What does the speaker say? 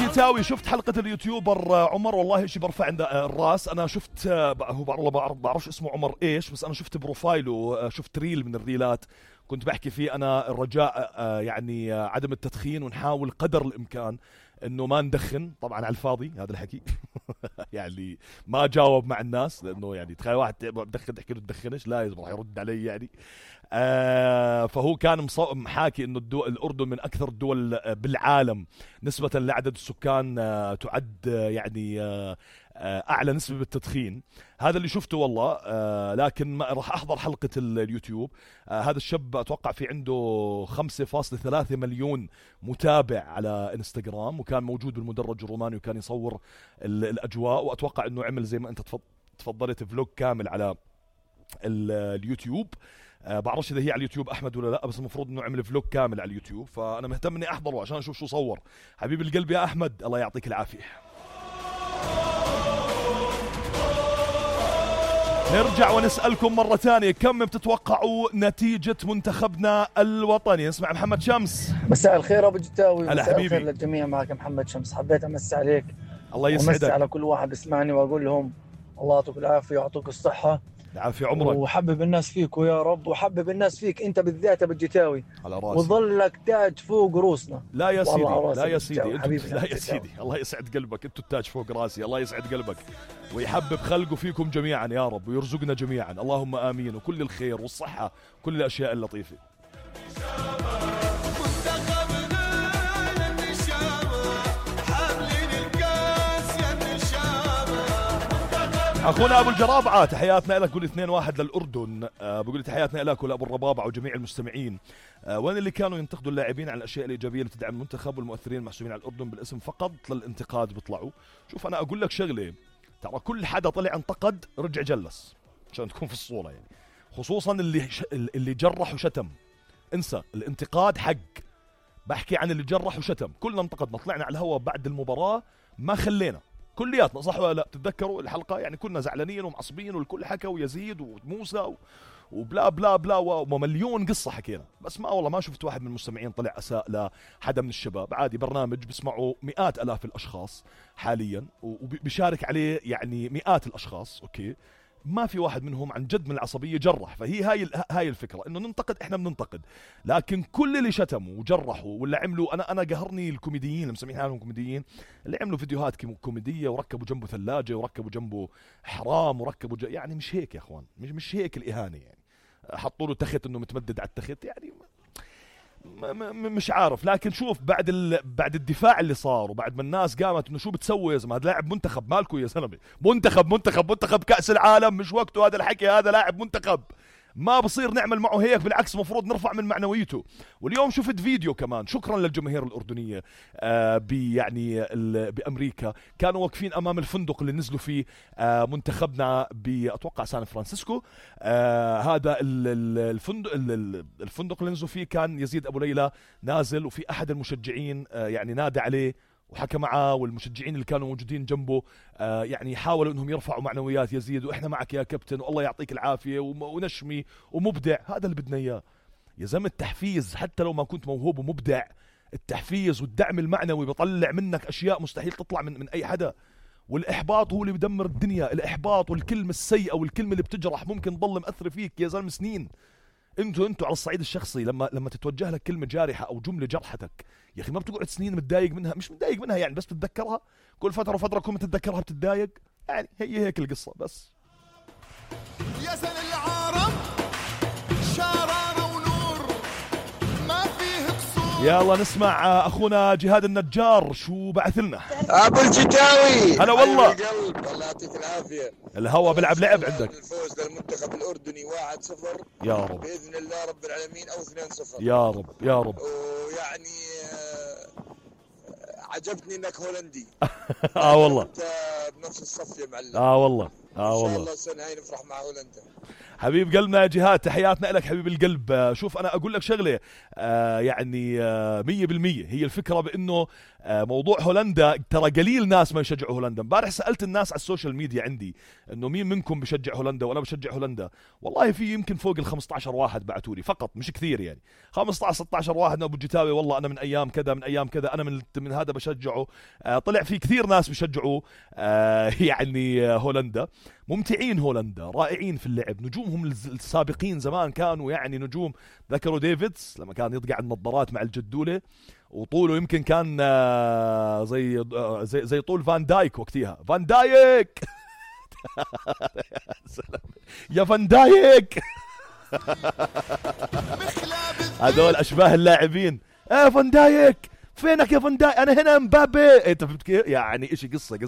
الجتاوي شفت حلقة اليوتيوبر عمر؟ والله شي برفع عند الراس. أنا شفت هو بعرفش اسمه عمر إيش، بس أنا شفت بروفايله، شفت ريل من الريلات كنت بحكي فيه أنا الرجاء يعني عدم التدخين، ونحاول قدر الإمكان إنه ما ندخن. طبعا على الفاضي هذا الحكي يعني ما جاوب مع الناس، لأنه يعني تخيل واحد بدخن تحكي له تدخنش، لا راح يرد علي يعني. فهو كان محاكي انه الاردن من اكثر الدول بالعالم نسبة لعدد السكان تعد يعني اعلى نسبة بالتدخين. هذا اللي شفته والله. لكن ما راح احضر حلقة اليوتيوب. هذا الشاب اتوقع في عنده 5.3 مليون متابع على انستغرام، وكان موجود بالمدرج الروماني وكان يصور الاجواء، واتوقع انه عمل زي ما انت تفضلت فلوج كامل على اليوتيوب. بعرفش اذا هي على اليوتيوب احمد ولا لا، بس المفروض انه عمل فلوج كامل على اليوتيوب، فانا مهتم اني احضره عشان اشوف شو صور. حبيب القلب يا احمد، الله يعطيك العافيه. نرجع ونسألكم مرة ثانية، كم بتتوقعوا نتيجة منتخبنا الوطني؟ نسمع محمد شمس. مساء الخير ابو جتاوي. مساء الخير للجميع، معك محمد شمس. حبيت امسي عليك، الله يسعدك، ومسي على كل واحد بسمعني، واقول لهم الله يعطيك العافية ويعطيك الصحة، العافية عمرك، وحبب الناس فيك ويا رب، وحبب الناس فيك انت بالذات ابو الجتاوي، على راسي، وظلك تاج فوق روسنا. لا يا سيدي، لا يا سيدي، لا يا سيدي، الله يسعد قلبك، انتوا التاج فوق راسي، الله يسعد قلبك ويحبب خلقه فيكم جميعا يا رب، ويرزقنا جميعا، اللهم آمين، وكل الخير والصحة، كل الأشياء اللطيفة. اخونا ابو الجرابعه تحياتنا لك، قول 2-1 للاردن. بقول تحياتنا لك ولابو الربابعه وجميع المستمعين. وين اللي كانوا ينتقدوا اللاعبين على الاشياء الايجابيه اللي تدعم المنتخب، والمؤثرين المحسوبين على الاردن بالاسم فقط للانتقاد بيطلعوا. شوف انا اقول لك شغله، ترى كل حدا طلع انتقد رجع جلس عشان تكون في الصوره يعني، خصوصا اللي جرح وشتم. انسى الانتقاد حق، بحكي عن اللي جرح وشتم. كلنا انتقدنا، طلعنا على الهواء بعد المباراه ما خلينا كلياتنا، صح ولا لا؟ تتذكروا الحلقه يعني كنا زعلانين ومعصبين، والكل حكى، ويزيد وموسى وبلا بلا بلا ومليون قصه حكينا، بس ما والله ما شفت واحد من المستمعين طلع اساء لحدا من الشباب. عادي، برنامج بيسمعوا مئات الاف الاشخاص حاليا وبيشارك عليه يعني مئات الاشخاص، اوكي، ما في واحد منهم عن جد من العصبيه جرح. فهي هاي الفكره، انه ننتقد، احنا بننتقد، لكن كل اللي شتموا وجرحوا ولا عملوا، انا قهرني الكوميديين اللي مسمين حالهم كوميديين، اللي عملوا فيديوهات كوميديه وركبوا جنبه ثلاجه وركبوا جنبه حرام وركبوا يعني مش هيك يا اخوان، مش هيك الاهانه يعني. حطوا له تخت انه متمدد على التخت يعني، مش عارف. لكن شوف بعد الدفاع اللي صار، وبعد ما الناس قامت انه شو بتسوي يا زلمه، هذا لاعب منتخب، مالكو يا زلمه، منتخب كأس العالم، مش وقته هذا الحكي، هذا لاعب منتخب، ما بصير نعمل معه هيك، بالعكس مفروض نرفع من معنويته. واليوم شفت فيديو كمان، شكرا للجماهير الأردنية يعني بأمريكا، كانوا واقفين أمام الفندق اللي نزلوا فيه منتخبنا بأتوقع سان فرانسيسكو. هذا الفندق اللي نزلوا فيه كان يزيد أبو ليلى نازل، وفي أحد المشجعين يعني نادى عليه وحكى معاه، والمشجعين اللي كانوا موجودين جنبه يعني حاولوا انهم يرفعوا معنويات يزيد، واحنا معك يا كابتن، والله يعطيك العافيه ونشمي ومبدع. هذا اللي بدنا اياه يا زلمه، التحفيز حتى لو ما كنت موهوب ومبدع، التحفيز والدعم المعنوي بيطلع منك اشياء مستحيل تطلع من اي حدا. والاحباط هو اللي بدمر الدنيا، الاحباط والكلمه السيئه والكلمه اللي بتجرح ممكن تضل مأثره فيك يا زلمه سنين. انتوا على الصعيد الشخصي لما تتوجه لك كلمه جارحه او جمله جرحتك، يا اخي ما بتقعد سنين متضايق منها، مش متضايق منها يعني، بس بتتذكرها كل فتره وفتره، كل ما تتذكرها بتتضايق يعني. هي هيك القصه بس. يا زل العالم شرارة ونور ما فيه قصور. يلا نسمع اخونا جهاد النجار شو بعث لنا. ابو الجتاوي، هلا والله، الله يعطيك العافيه. الهوا بلعب لعب عندك. الفوز للمنتخب الاردني 1-0 يا رب باذن الله رب العالمين، او 2-0 يا رب يا رب. ويعني عجبتني انك هولندي. والله انت بنفس الصف يا معلم. والله ان شاء الله السنه هاي نفرح مع هولندا. حبيب قلبنا يا جهاد، تحياتنا لك حبيب القلب. شوف أنا أقول لك شغلة، يعني 100% هي الفكرة بأنه موضوع هولندا ترى قليل ناس ما يشجعوا هولندا. امبارح سألت الناس على السوشيال ميديا عندي انه مين منكم بشجع هولندا، وانا بشجع هولندا. والله في يمكن فوق ال 15 واحد بعثوا لي فقط، مش كثير يعني، 15 16 واحد. ابو جتاوي والله انا من ايام كذا من ايام كذا، انا من هذا بشجعه. طلع في كثير ناس بشجعوا يعني هولندا. ممتعين هولندا، رائعين في اللعب، نجومهم السابقين زمان كانوا يعني نجوم. ذكروا ديفيدز لما كان يطقع النظارات مع الجدولة، وطوله يمكن كان زي طول فان دايك وقتها. فان دايك يا فان دايك هذول اشباه اللاعبين. فان دايك فينك يا فان دايك؟ انا هنا مبابي. انت فهمت كيف يعني؟ اشي قصة